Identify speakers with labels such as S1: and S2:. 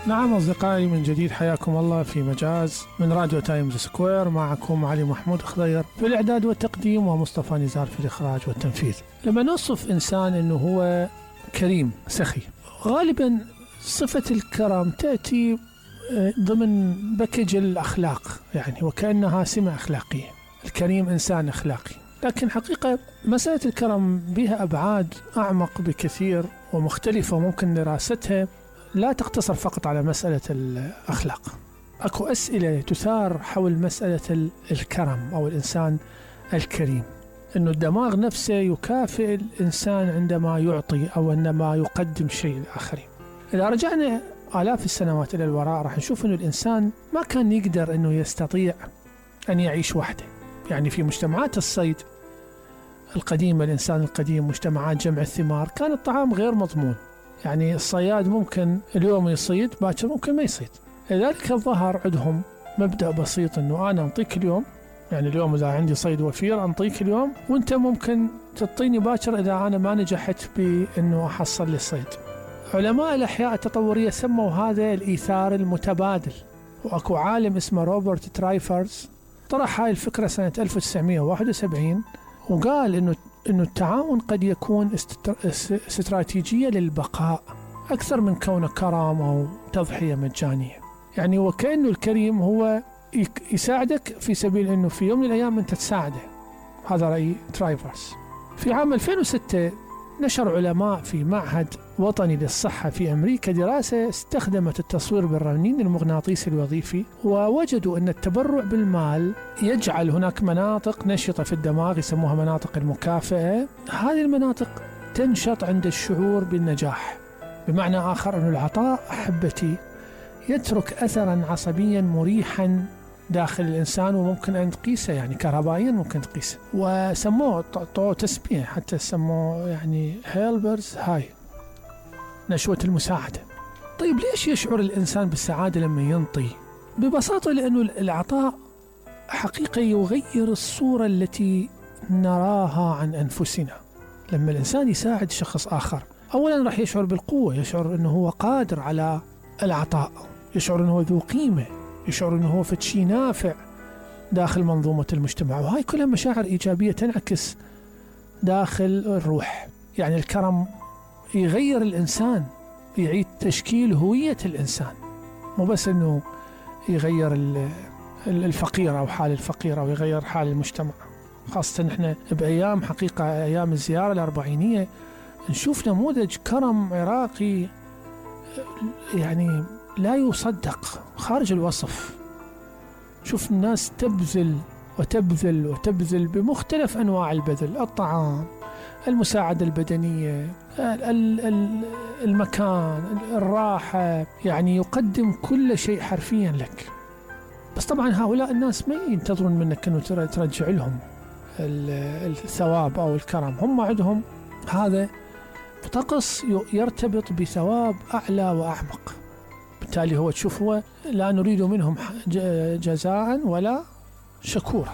S1: نعم أصدقائي، من جديد حياكم الله في مجاز من راديو تايمز سكوير. معكم علي محمود خضير في الإعداد والتقديم، ومصطفى نزار في الإخراج والتنفيذ. لما نوصف إنسان أنه هو كريم سخي، غالبا صفة الكرم تأتي ضمن بكج الأخلاق، يعني وكأنها سمة أخلاقية. الكريم إنسان أخلاقي، لكن حقيقة مسألة الكرم بها أبعاد أعمق بكثير ومختلفة، وممكن دراستها لا تقتصر فقط على مسألة الأخلاق. أكو أسئلة تثار حول مسألة الكرم أو الإنسان الكريم، أنه الدماغ نفسه يكافئ الإنسان عندما يعطي أو عندما يقدم شيء للآخرين. إذا رجعنا آلاف السنوات إلى الوراء راح نشوف أنه الإنسان ما كان يقدر أنه يستطيع أن يعيش وحده. يعني في مجتمعات الصيد القديمة، الإنسان القديم، مجتمعات جمع الثمار، كان الطعام غير مضمون. يعني الصياد ممكن اليوم يصيد، باكر ممكن ما يصيد. لذلك ظهر عندهم مبدأ بسيط، أنه أنا أنطيك اليوم، يعني اليوم إذا عندي صيد وفير أنطيك اليوم، وأنت ممكن تعطيني باكر إذا أنا ما نجحت بأنه أحصل لي الصيد. علماء الأحياء التطورية سموا هذا الإيثار المتبادل. وأكو عالم اسمه روبرت ترايفرز طرح هاي الفكرة سنة 1971، وقال إنه التعاون قد يكون استراتيجية للبقاء أكثر من كونه كرم أو تضحية مجانية. يعني وكأنه الكريم هو يساعدك في سبيل إنه في يوم من الأيام أنت تساعده. هذا رأي ترايفرز. في عام 2006 نشر علماء في معهد وطني للصحة في أمريكا دراسة استخدمت التصوير بالرنين المغناطيسي الوظيفي، ووجدوا أن التبرع بالمال يجعل هناك مناطق نشطة في الدماغ يسموها مناطق المكافأة. هذه المناطق تنشط عند الشعور بالنجاح. بمعنى آخر أن العطاء أحبتي يترك أثرا عصبيا مريحا داخل الإنسان، وممكن أن تقيسه يعني كهربائيا ممكن تقيسه. وسموه طو تسمية، حتى سموه يعني هيلبرز هاي، نشوة المساعدة. طيب ليش يشعر الإنسان بالسعادة لما ينطي؟ ببساطة لأنه العطاء حقيقة يغير الصورة التي نراها عن أنفسنا. لما الإنسان يساعد شخص آخر، أولا راح يشعر بالقوة، يشعر أنه هو قادر على العطاء، يشعر أنه هو ذو قيمة، يشعر أنه هو فتشي نافع داخل منظومة المجتمع. وهاي كلها مشاعر إيجابية تنعكس داخل الروح. يعني الكرم يغير الإنسان، يعيد تشكيل هوية الإنسان، مو بس أنه يغير الفقير أو حال الفقير أو يغير حال المجتمع. خاصة نحن بأيام حقيقة أيام الزيارة الأربعينية نشوف نموذج كرم عراقي يعني لا يصدق، خارج الوصف. شوف الناس تبذل وتبذل وتبذل بمختلف أنواع البذل، الطعام، المساعدة البدنية، المكان، الراحة، يعني يقدم كل شيء حرفيا لك. بس طبعا هؤلاء الناس ما ينتظرون منك أنه ترجع لهم الثواب أو الكرم. هم عندهم هذا طقس يرتبط بثواب أعلى وأعمق. بالتالي هو تشوف، هو لا نريد منهم جزاء ولا شكورا.